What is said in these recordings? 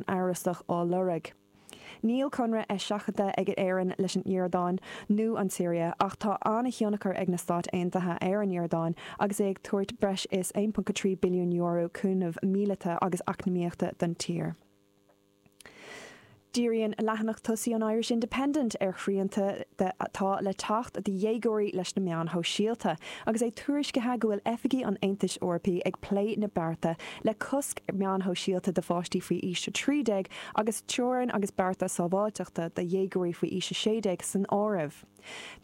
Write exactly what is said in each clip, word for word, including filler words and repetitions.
Amhrasach á lorg. Níl conradh eiseachadta ag Éirinn leis an Iordáin nó an tSiria, ach tá an-thionchar ag na Stáit Aontaithe ar an Iordáin agus é ag tabhairt breis is aon ponc a trí billiún euro cúnamh míleata agus eacnamaíochta don tír. Díríonn leathanach tosaigh an Irish Independent ar shrianta atá le teacht do dhéagóirí leis na meáin shóisialta, agus é tuairiscithe go bhfuil oifigigh an Aontais Eorpaigh ag plé na bearta le cosc meáin shóisialta do pháistí faoi aois a trí déag agus teorainn agus bearta sábháilteachta do dhéagóirí faoi aois a sé déag san áireamh.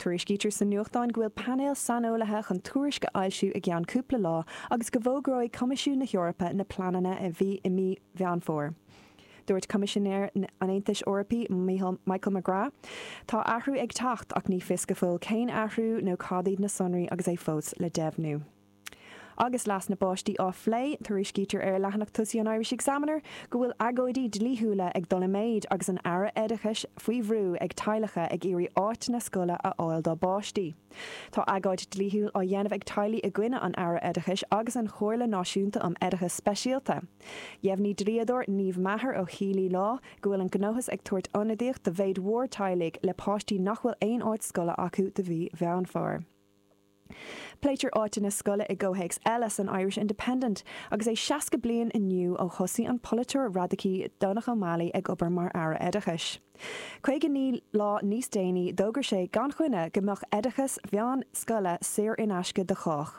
Tuairiscítear sa nuachtán go bhfuil painéal saineolaithe chun tuairisc a fhoilsiú i gceann cúpla lá agus go bhfógróidh Coimisiún na hEorpa na pleananna i mí Mheán Fómhair. Dúirt Coimisinéir an Aontais Eorpaigh Michael McGrath, Tá athrú ag teacht ach ní fios go fóill cén athrú nó cad iad na sonraí agus é fós le deimhniú. Agus leas na bpáistí á phlé, tuairiscítear ar leathanach tosaigh an Irish Examiner go bhfuil agóidí dlíthiúla ag dul i méid agus an Aire Oideachais faoi bhrú ag teaghlaigh ag iarraidh áiteanna scoile a fháil dá bpáistí. Tá agóid dlíthiúil á dhéanamh ag teaghlaigh i gcoinne an Aire Oideachais agus an Chomhairle Náisiúnta um Oideachas Speisialta. Dheimhnigh dlíodóir Niamh Maher ó Healy Law go bhfuil an gnóthas ag tabhairt ionadaíocht do mhéid mhór teaghlaigh le páistí nach bhfuil aon áit scoile acu do mhí Mheán Fómhair. Pléitear áiteanna scoile i gcomhthéacs eile san Irish Independent agus é seasca bliain inniu ó thosaigh an polaiteoir radacaí Donogh O'Malley ag obair mar Aire Oideachais. Caoga naoi lá níos déanaí d'fhógair sé gan choinne go mbeadh oideachas mheánscoile saor in aisce do chách.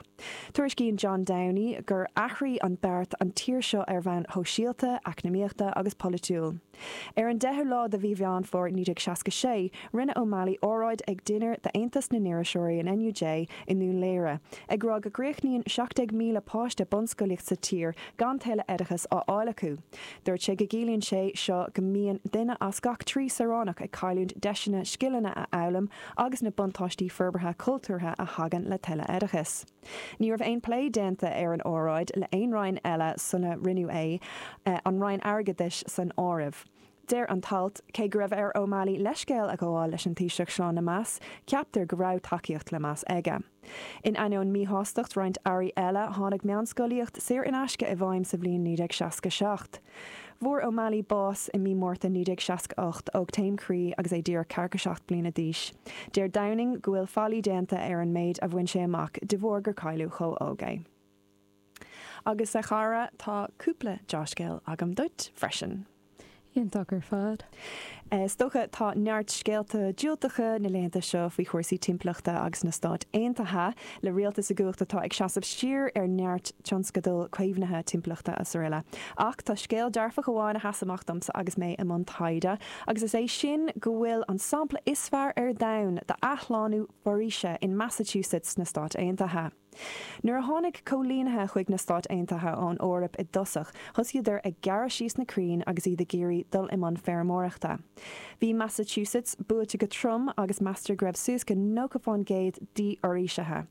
Tuairiscíonn John Downey gur athraigh an beart an tír seo ar bhonn shóisialta, eacnamaíochta agus polaitiúil. Ar an deichiú lá de mhí Mheán Fómhair naoi déag seasca sé, rinne O'Malley óráid ag dinnéar d'Aontas na nIriseoirí an N U J i nDún Laoghaire, ag rá go gcríochnaíonn seacht déag míle páiste bunscolaíocht sa tír gan tuilleadh oideachas á fháil acu. Dúirt sé go gciallaíonn sé seo go mbíonn duine as gach trí saoránach ag cailliúint deiseanna scileanna a fhoghlaim agus na buntáistí forbartha cultúrtha a thagann le tuilleadh oideachais. Ní raibh aon plé déanta ar an óráid le aon roinn eile sula rinneadh é, an Roinn Airgeadais san áireamh. Deir an t-alt, cé go raibh ar O'Malley leithscéal a ghabháil leis an Taoiseach Seán Lemass, ceaptar go raibh tacaíocht Lemass aige. In ainneoin míshástacht roinnt airí eile, tháinig meánscolaíocht saor in aisce i bhfeidhm sa bhliain naoi déag seasca seacht. Fuair O'Malley bás i mí Márta naoi déag seasca ocht ó taom croí agus é díreach ceathracha seacht bliana d'aois. Deir Downing go bhfuil faillí déanta ar an méid a bhain sé amach de bharr gur cailleadh chomh óg é. Agus a chara, tá cúpla dea-scéal agam duit freisin. Iontach ar fad. Is dócha tá neart scéalta diúltacha na laethanta seo faoi chúrsaí timpeallachta agus na Stáit Aontaithe, le rialtas i gcumhacht atá ag seasamh siar ar neart tionscadal caomhnaithe timpeallachta is araile. Ach tá scéal dearfach amháin a sheas amach domsa agus mé i mbun taighde, agus is é sin go bhfuil an sampla is fearr ar domhan d'athshlánú foraoise in Massachusetts sna Stáit Aontaithe. Nuair a tháinig coilínithe chuig na Stáit Aontaithe ón Eoraip i dtosach, thosaíodar ag gearradh síos na crainn agus iad ag iarraidh dul i mbun feirmeoireachta. Bhí Massachusetts buailte go trom agus meastar go raibh suas go nócha faoin gcéad dífhoraoisithe.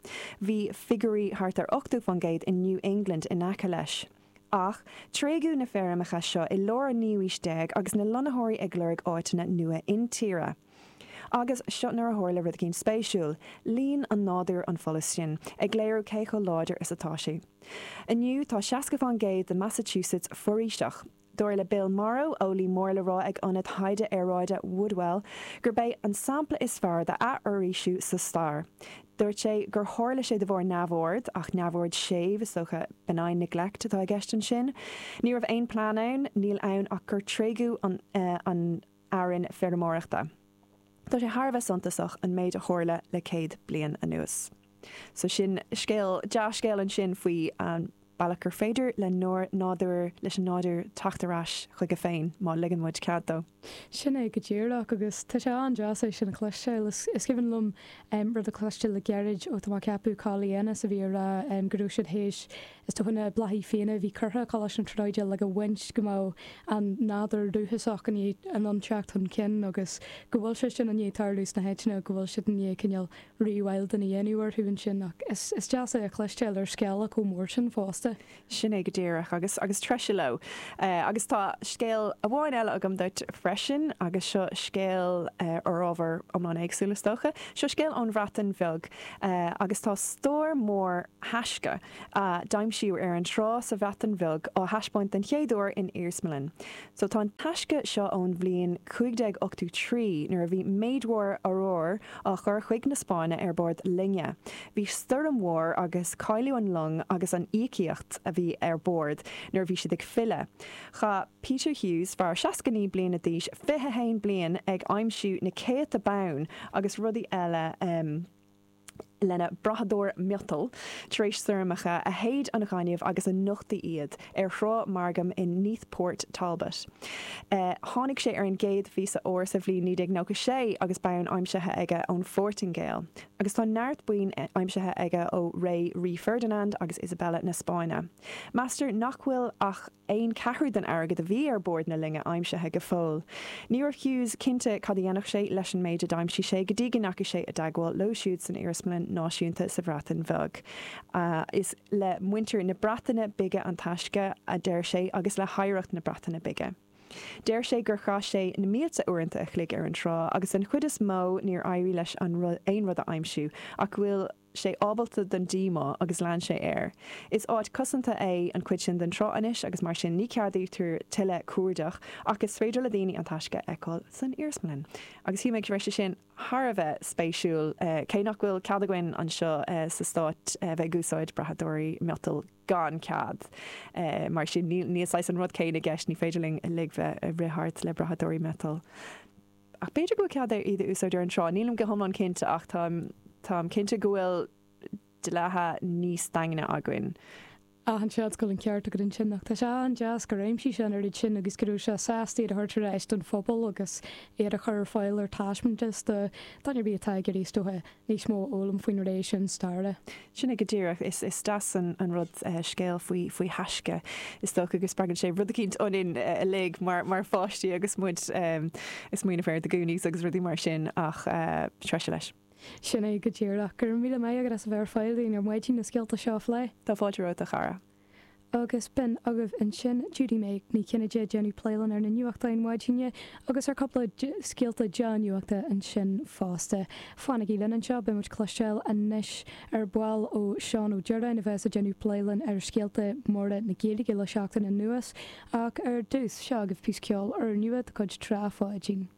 Bhí figiúirí thart ar ochtó faoin gcéad in New England in aice leis. Ach tréigeadh na feirmeacha seo i lár an naoú haois déag agus na lonnaitheoirí ag lorg áiteanna nua intíre. Agus seo nuair a tharla rud éigin spéisiúil, líon an nádúr an folús sin, ag léiriú cé chomh láidir is atá sé. Inniu tá seasca faoin gcéad de Massachusetts foraoiseach. Dar le Bill Morrow, eolaí mór le rá ag Ionad Taighde Aeráide Woodwell, gurb é an sampla is fearr d'athfhoraoisiú sa stair. Dúirt sé gur tharla sé de bharr neamhaird, ach neamhaird séimh, is dócha benign neglect atá i gceist ansin. Ní raibh aon plean ann, níl ann ach gur tréigeadh an, an fhearann feirmeoireachta. Tá sé thar a bheith suntasach an méid a tharla le céad bliain anuas. So sin scéal, dea-scéal ansin faoi an bealach gur féidir le nádúr, leis an nádúr teacht ar ais chuige féin má ligeann muid cead dó. Sin é go díreach agus tá sé an-deas é sin a chloisteáil. Is cuimhin liom rud a chloisteáil le gairid ó tá mé ag ceapadh Collie Ennis a bhí ag rá go raibh siad théis is dócha na bláthaí fiáine a bhí curtha Coláiste na Tríonóide le go bhaint go mbeadh an nádúr dúchasach in ann teacht chun cinn agus go bhfuil sé sin i ndiaidh tarlú sna háiteanna go bhfuil siad i ndiaidh cineál rewilding a dhéanamh orthu ansin ach is is deas é a chloisteáil ar scála chomh mór sin fosta. fosta. Sin é go díreach agus agus treise leo. Uh, agus tá scéal amháin eile agam duit freisin agus seo scéal uh, ar ábhar iomlán éagsúil is dócha. Seo scéal ón Bhreatain Bheag uh, agus tá stór mór taisce uh, d'aimsíodh ar an trá sa Bhreatain Bheag á thaispeáint den chéad uair in iarsmalann. So tá an taisce seo ón bhliain cúig déag ochtó trí nuair a bhí méid mhór óir á chur chuig na Spáinne ar bord loinge. Bhí stoirm mhór agus cailleadh an long agus an íocaíocht a bhí ar bord nuair a bhí siad ag filleadh. Chaith Peter Hughes fear seasca naoi bliana d'aois fiche haon bliain ag aimsiú na céadta bonn agus rudaí eile um, lena brathadóir miotail tar éis stoirmeacha a shéid an gaineamh agus a nochtaigh iad ar thrá Margam in Neath Port Talbot. Uh, tháinig sé ar an gcéad phíosa óir sa bhliain naoi déag nócha sé agus bonn aimsithe aige ón Phortaingéil. Agus tá neart boinn aimsithe aige ó ré Rí Ferdinand agus Isabella na Spáinne. Meastar nach bhfuil ach aon ceathrú den airgead a bhí ar bord na loinge aimsithe go fóill. Ní raibh Hughes cinnte cad a dhéanfadh sé leis an méid a d'aimsigh sé go dtí go ndeachaigh sé i dteagmháil leo siúd san Iarsmalann Náisiúnta sa Bhreatain Bheag. Uh, is le muintir na Breataine Bige an taisce a deir sé agus le hoidhreacht na Breataine Bige. Deir sé gur chaith sé na mílte uaireanta a chloig ar an trá agus an chuid is mó níor éirigh leis an aon rud a aimsiú ach bhfuil sé ábalta den díomá agus lean sé air. Is áit cosanta é an chuid sin den trá anois agus mar sin ní ceadaítear tuilleadh cuardach ach is féidir le daoine an taisce a fheiceáil san iarsmalann. Agus shíl mé go raibh sé sin thar a bheith spéisiúil uh, cé nach bhfuil cead againn anseo uh, sa stát uh, bheith ag úsáid brathadóirí miotail gan cead. Uh, mar sin níl saghas an rud céanna i gceist ní féidir linn uilig bheith ag rith thart le brathadóirí miotail. Ach b'fhéidir go bhfuil cead iad a úsáid ar an trá, nílim go hiomlán cinnte ach táim táim cinnte go bhfuil dlíthe níos daingne againn. An seans go bhfuil an ceart agat ansin ach tá sé an-deas gur aimsigh sé an oiread sin agus go raibh sé sásta iad a thabhairt ar ais don phobal agus iad a chur ar fáil ar taispeántas do dhuine ar bith atá ag iarraidh is dócha níos mó a fhoghlaim faoin ré sin staire. Sin é go díreach is is deas an an rud uh, scéal faoi faoi thaisce is dócha go spreagann sé rud eicínt ionainn uh, uilig mar mar pháistí agus muid um, ag smaoineamh ar The Goonies agus rudaí mar sin ach uh, treise leis. Sin é go díreach go raibh míle maith agat as a bheith ar fáil dúinn ar maidin na scéalta seo a phlé. Tá fáilte romhat a chara. Agus b'in agaibh ansin Judy May Ní Chinnéide ag déanamh plé linn ar na nuachtáin maidine agus ar cúpla scéalta dea-nuachta ansin fosta. Fanaigí linn anseo beidh muid ag cloisteáil anois ar ball ó Seán Ó Direáin a bheas ag déanamh plé linn ar scéalta móra na Gaeilge le seachtain anuas ach ar dtús seo agaibh píosa ceoil úrnua de chuid Trá Pháidín.